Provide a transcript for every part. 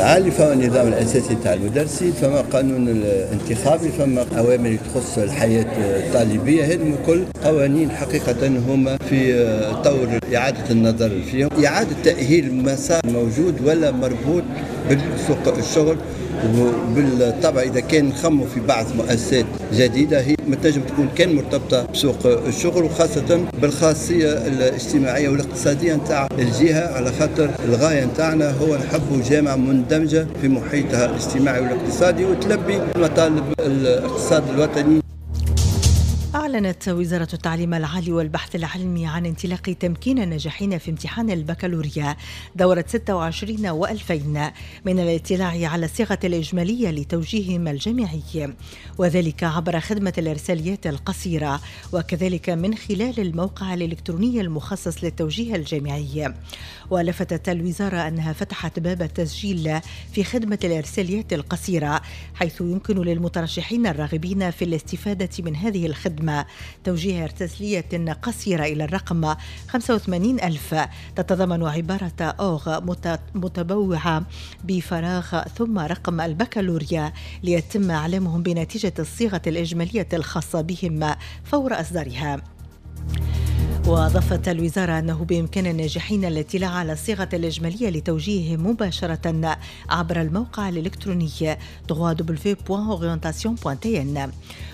العالي، فما النظام الاساسي تاع المدرسين، فما قانون الانتخابي، فما اوامر تخص الحياة الطالبيه. هذه كل قوانين حقيقة هما في طور اعاده النظر فيهم، اعاده تاهيل مسار موجود ولا مربوط بالسوق الشغل. وبالطبع اذا كان نخموا في بعض مؤسسات جديدة هي ما تنجم تكون كان مرتبطة بسوق الشغل، وخاصة بالخاصيه الاجتماعية والاقتصادية نتاع الجهه، على خاطر الغاية نتاعنا هو نحبوا جامعه مندمجه في محيطها الاجتماعي والاقتصادي وتلبي مطالب الاقتصاد الوطني. أعلنت وزارة التعليم العالي والبحث العلمي عن انطلاق تمكين الناجحين في امتحان البكالوريا دورة 26 و2000 من الاطلاع على الصيغة الإجمالية لتوجيههم الجامعي، وذلك عبر خدمة الإرساليات القصيرة، وكذلك من خلال الموقع الإلكتروني المخصص للتوجيه الجامعي. ولفتت الوزارة أنها فتحت باب التسجيل في خدمة الإرساليات القصيرة، حيث يمكن للمترشحين الراغبين في الاستفادة من هذه الخدمة توجيه ارسالية قصيرة إلى الرقم 85000 تتضمن عبارة أوغ متبوعة بفراغ ثم رقم البكالوريا، ليتم إعلامهم بنتيجة الصيغة الإجمالية الخاصة بهم فور إصدارها. وأضافت الوزارة أنه بإمكان الناجحين الاطلاع على الصيغة الإجمالية لتوجيههم مباشرة عبر الموقع الإلكتروني www.orientation.tn.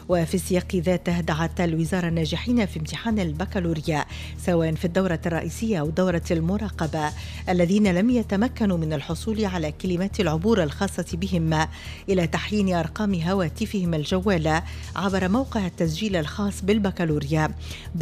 وفي السياق ذاته دعت الوزارة الناجحين في امتحان البكالوريا سواء في الدورة الرئيسية أو دورة المراقبة الذين لم يتمكنوا من الحصول على كلمات العبور الخاصة بهم إلى تحيين أرقام هواتفهم الجوالة عبر موقع التسجيل الخاص بالبكالوريا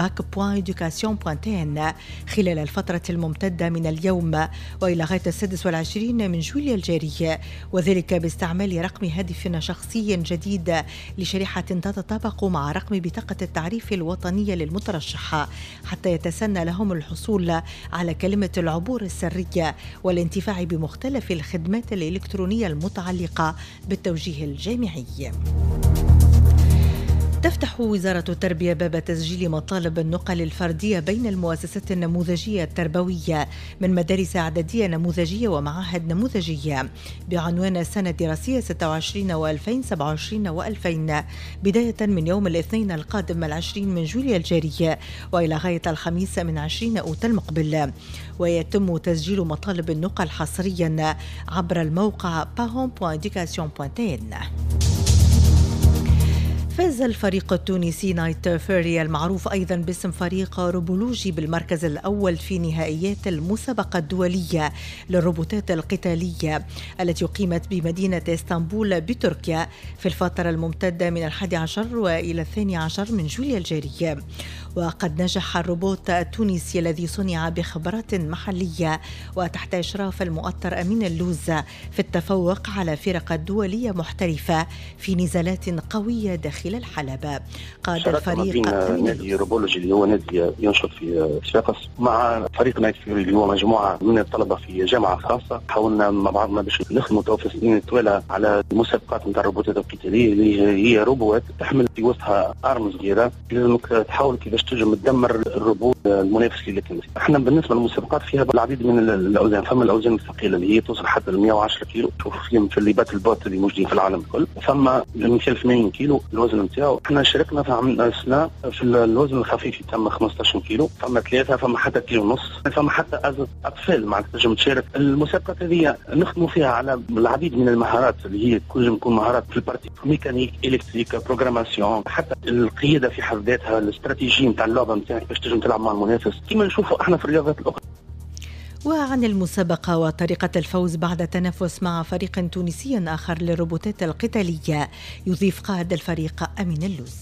bac.education.tn خلال الفترة الممتدة من اليوم وإلى غاية 26 من جويلية الجاري، وذلك باستعمال رقم هاتف شخصي جديد لشريحة تتطابق مع رقم بطاقة التعريف الوطنية للمترشح، حتى يتسنى لهم الحصول على كلمة العبور السرية والانتفاع بمختلف الخدمات الإلكترونية المتعلقة بالتوجيه الجامعي. تفتح وزارة التربية باب تسجيل مطالب النقل الفردية بين المؤسسات النموذجية التربوية من مدارس إعدادية نموذجية ومعاهد نموذجية بعنوان السنة الدراسية 26 و2000 27 و2000 بداية من يوم الاثنين القادم 20 من جويلية الجاري وإلى غاية الخميس من 20 أوت المقبل. ويتم تسجيل مطالب النقل حصريا عبر الموقع parents.education.tn. فاز الفريق التونسي نايت فيري المعروف أيضا باسم فريق روبولوجي بالمركز الأول في نهائيات المسابقة الدولية للروبوتات القتالية التي أقيمت بمدينة اسطنبول بتركيا في الفترة الممتدة من 11 وإلى 12 من جويلية الجاري. وقد نجح الروبوت التونسي الذي صنع بخبرات محلية وتحت إشراف المؤطر أمين اللوز في التفوق على فرق دولية محترفة في نزالات قوية داخل الحلبة. قاد الفريق نادي روبولوجي اللي هو نادي ينشط في صفاقس مع فريق نايت فيوري اللي هو مجموعة من الطلبة في جامعة خاصة. حاولنا مع بعضنا باش نخدموا تو في السنين الطويلة على المسابقات نتاع الروبوتات القتالية اللي هي روبوت تحمل في وسطها arme صغيرة، لازمك تحاول كيفاش تنجم تدمر الروبوت المنافس اللي كان. احنا بالنسبة للمسابقات فيها العديد من الاوزان، فما الاوزان الثقيلة اللي هي توصل حتى ل 110 كيلو، تشوف فيهم في les battle bots اللي موجودين في العالم الكل، فما مثال 80 كيلو الوزن نتاعو. احنا شاركنا في عام سنة في الوزن الخفيف تم 15 كيلو، فما 3، فما حتى كيلو ونص، فما حتى اطفال معناتها تنجم تشارك. المسابقات هذه نخدموا فيها على العديد من المهارات اللي هي تنجم تكون مهارات في ال partie mécanique، électrique، programmation، حتى القيادة في حد ذاتها، الاستراتيجية نتاع اللعبة نتاعك باش تنجم تلعب مع المنافس كما نشوفوا احنا في الرياضات الاخرى. وعن المسابقة وطريقة الفوز بعد تنافس مع فريق تونسي آخر للروبوتات القتالية يضيف قائد الفريق أمين اللوز.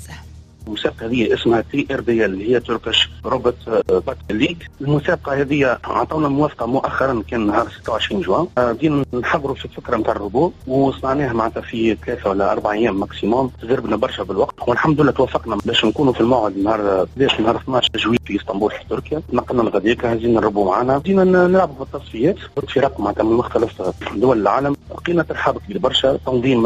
المسابقة هذه اسمها TRBL اللي هي Turkish Robot Battle League. المسابقة هذه عطونا موافقة مؤخرا، كان نهار 26 جوان. بدينا نحضروا في الفكرة نتاع الروبوت وصنعناها معناتها في 3 ولا 4 ايام maximum، تزربنا برشا بالوقت. والحمد لله توفقنا باش نكونوا في الموعد نهار 11 نهار 12 جويلية في اسطنبول في تركيا. نقلنا لغاديك، هزينا الربو معنا، بدينا نلعبوا في التصفيات ضد فرق معناتها من مختلف دول العالم. لقينا ترحاب كبير برشا، تنظيم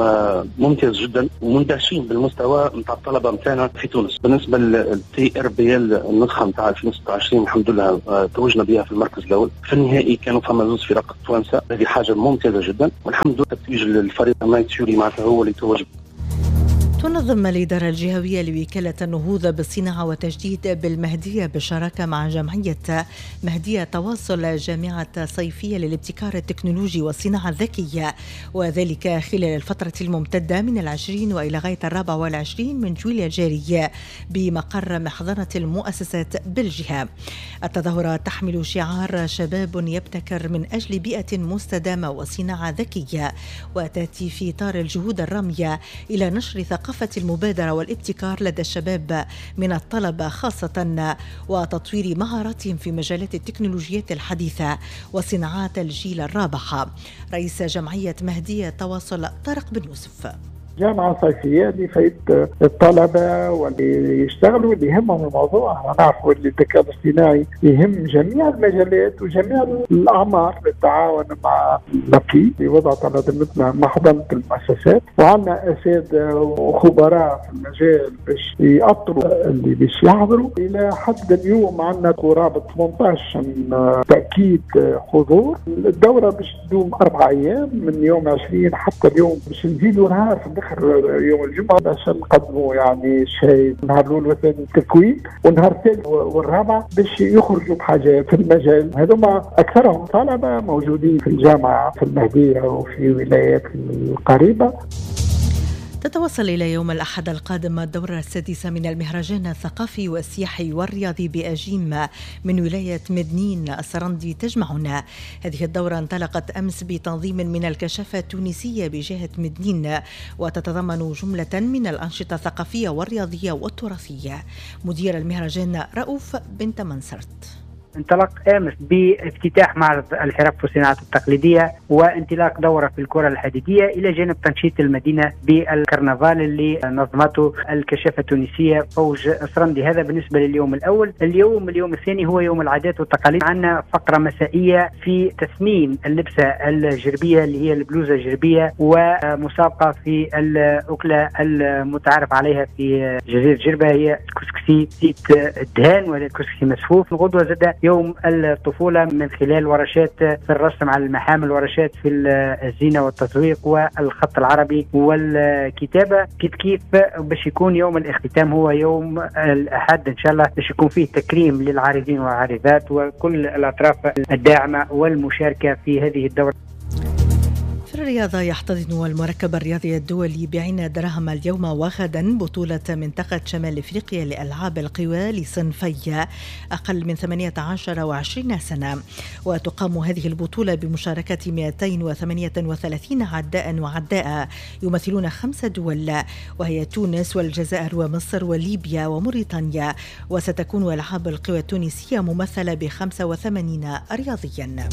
ممتاز جدا، ومندهشين بالمستوى نتاع الطلبة نتاعنا في تونس. بالنسبة لل TRBL النسخة نتاع 2026 الحمد لله توجنا بها في المركز الاول. في النهائي كانوا فما زوج فرق توانسة، هذه حاجة ممتازة جدا، والحمد لله تتويج للفريق نايت فيوري معناتها هو اللي توج. تنظم الإدارة الجهوية لوكالة النهوض بالصناعة وتجديد بالمهدية بالشراكة مع جمعية مهدية تواصل جامعة صيفية للابتكار التكنولوجي والصناعة الذكية، وذلك خلال الفترة الممتدة من 20 وإلى غاية 24 من جويلية الجاري بمقر محضنة المؤسسات بالجهة. التظاهرة تحمل شعار شباب يبتكر من أجل بيئة مستدامة وصناعة ذكية، وتأتي في إطار الجهود الرامية إلى نشر ثقافة المبادرة والابتكار لدى الشباب من الطلبة خاصة، وتطوير مهاراتهم في مجالات التكنولوجيات الحديثة وصناعات الجيل الرابع. رئيس جمعية مهدية تواصل طارق بن يوسف: جامعة صيفية لفائدة الطلبة واللي يشتغلوا اللي يهمهم الموضوع. نعرفوا اللي الذكاء الاصطناعي يهم جميع المجالات وجميع الأعمار. بالتعاون مع l'API اللي وضعت على ذمتنا محضنة المؤسسات، وعندنا أساتذة وخبراء في المجال باش يأطروا اللي باش يحضروا. إلى حد اليوم عندنا قرابة 18 تأكيد حضور. الدورة باش تدوم 4 أيام من يوم 20 حتى اليوم، باش نزيدوا نهار في يوم الجمعة باش نقدموا يعني شيء نهار الأول والثاني تكوين، والنهار الثالث والرابع باش يخرجوا بحاجة في المجال. هذوما أكثرهم طلبة موجودين في الجامعة في المهدية وفي ولايات القريبة. تتواصل إلى يوم الأحد القادم الدورة السادسة من المهرجان الثقافي والسياحي والرياضي بأجيم من ولاية مدنين السرندي تجمعنا. هذه الدورة انطلقت أمس بتنظيم من الكشافة التونسية بجهة مدنين، وتتضمن جملة من الأنشطة الثقافية والرياضية والتراثية. مدير المهرجان رؤوف بنت منصرت: انطلق امس بافتتاح معرض الحرف والصناعات التقليدية وانطلاق دوره في الكره الحديدية، الى جانب تنشيط المدينة بالكرنفال اللي نظمته الكشافه التونسية فوج سرندي. هذا بالنسبة لليوم الاول. اليوم الثاني هو يوم العادات والتقاليد. عندنا فقره مسائية في تثمين اللبسه الجربيه اللي هي البلوزة الجربيه، ومسابقه في الاكلة المتعارف عليها في جزيرة جربه هي الكسكسي زيت الدهان ولا الكسكسي مسفوف. الغدوه زاد يوم الطفولة من خلال ورشات في الرسم على المحامل، ورشات في الزينة والتزويق والخط العربي والكتابة. كيف باش يكون يوم الاختتام هو يوم الأحد إن شاء الله، باش يكون فيه تكريم للعارضين والعارضات وكل الأطراف الداعمة والمشاركة في هذه الدورة. في الرياضة، يحتضن المركب الرياضي الدولي بعين دراهم اليوم وغدا بطولة منطقة شمال إفريقيا لألعاب القوى لصنفي أقل من 18 و20 سنة، وتقام هذه البطولة بمشاركة 238 عداء وعداء يمثلون 5 دول، وهي تونس والجزائر ومصر وليبيا وموريتانيا. وستكون ألعاب القوى التونسية ممثلة ب 85 رياضيا.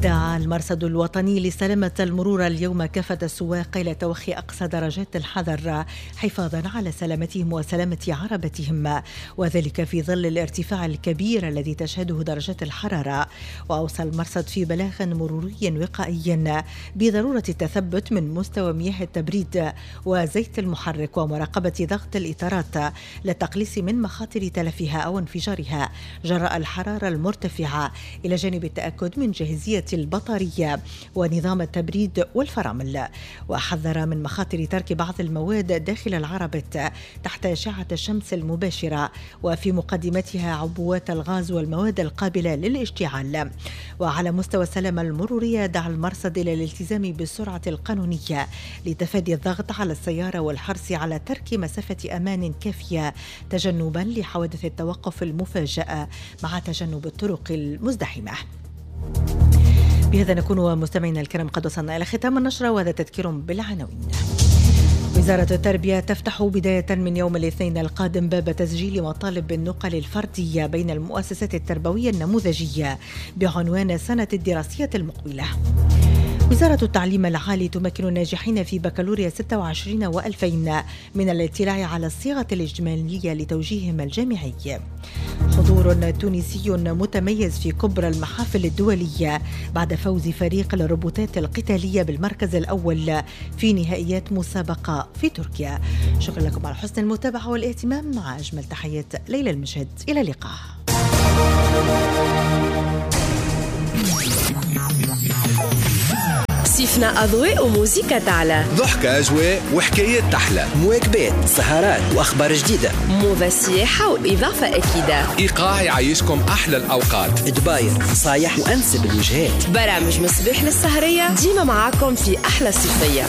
دعا المرصد الوطني لسلامة المرور اليوم كافة السواق إلى توخي أقصى درجات الحذر حفاظا على سلامتهم وسلامة عربتهم، وذلك في ظل الارتفاع الكبير الذي تشهده درجات الحرارة. وأوصى المرصد في بلاغ مروري وقائي بضرورة التثبت من مستوى مياه التبريد وزيت المحرك ومراقبة ضغط الإطارات للتقليص من مخاطر تلفها أو انفجارها جراء الحرارة المرتفعة، إلى جانب التأكد من جاهزية البطارية ونظام التبريد والفرامل. وحذر من مخاطر ترك بعض المواد داخل العربة تحت أشعة الشمس المباشرة، وفي مقدمتها عبوات الغاز والمواد القابلة للاشتعال. وعلى مستوى السلامة المرورية، دعا المرصد إلى الالتزام بالسرعة القانونية لتفادي الضغط على السيارة والحرص على ترك مسافة أمان كافية تجنبا لحوادث التوقف المفاجئة مع تجنب الطرق المزدحمة. بهذا نكون مستمعينا الكرام قد وصلنا إلى ختام النشرة، وهذا تذكير بالعناوين. وزارة التربية تفتح بداية من يوم الاثنين القادم باب تسجيل مطالب النقل الفردية بين المؤسسات التربوية النموذجية بعنوان السنة الدراسية المقبلة. وزارة التعليم العالي تمكن الناجحين في بكالوريا 26 و2000 من الاطلاع على الصيغة الإجمالية لتوجيههم الجامعي. حضور تونسي متميز في كبرى المحافل الدولية بعد فوز فريق الروبوتات القتالية بالمركز الأول في نهائيات مسابقة في تركيا. شكرا لكم على حسن المتابعة والاهتمام، مع أجمل تحيات ليلى المجد، إلى اللقاء. صيفنا أضواء وموسيقى تعلى، ضحكة أجواء وحكايات تحلى، مواكبات، سهرات وأخبار جديدة، موضة سياحة وإضافة أكيدة، إيقاع يعيشكم أحلى الأوقات، دباير نصايح وأنسب الوجهات، برامج مصباح للسهرية ديما معاكم في أحلى صيفية.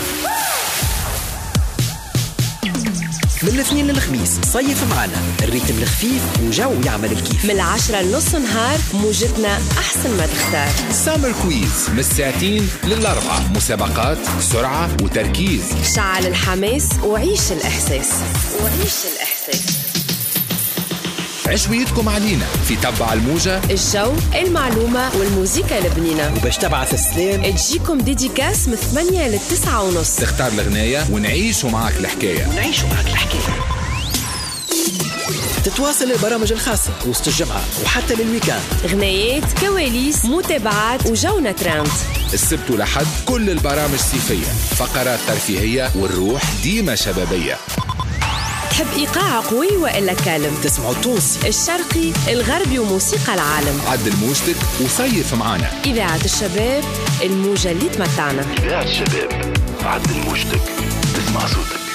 من الاثنين للخميس صيف معنا ال rythme الخفيف وجو يعمل الكيف، من 10 لنص نهار موجتنا أحسن ما تختار. summer quiz من 2 ل4، مسابقات، سرعة وتركيز، شعل الحماس وعيش الإحساس، عشويتكم علينا في تبع الموجة، الجو، المعلومة والموسيقى البنينة. وباش تبعث السلام تجيكم dédicace من 8 ل 9:30، تختار الغناية ونعيشوا معاك الحكاية، تتواصل البرامج الخاصة وسط الجمعة وحتى لل week-end، غنايات، كواليس، متابعات وجونا ترند. السبت ولحد كل البرامج صيفية، فقرات ترفيهية والروح ديما شبابية. تحب إيقاع قوي وإلا calme؟ تسمعوا التونسي، الشرقي، الغربي وموسيقى العالم. عدل موجتك وصيف معانا. إذاعة الشباب، الموجة اللي تمتعنا. إذاعة الشباب، عدل موجتك، تسمع صوتك.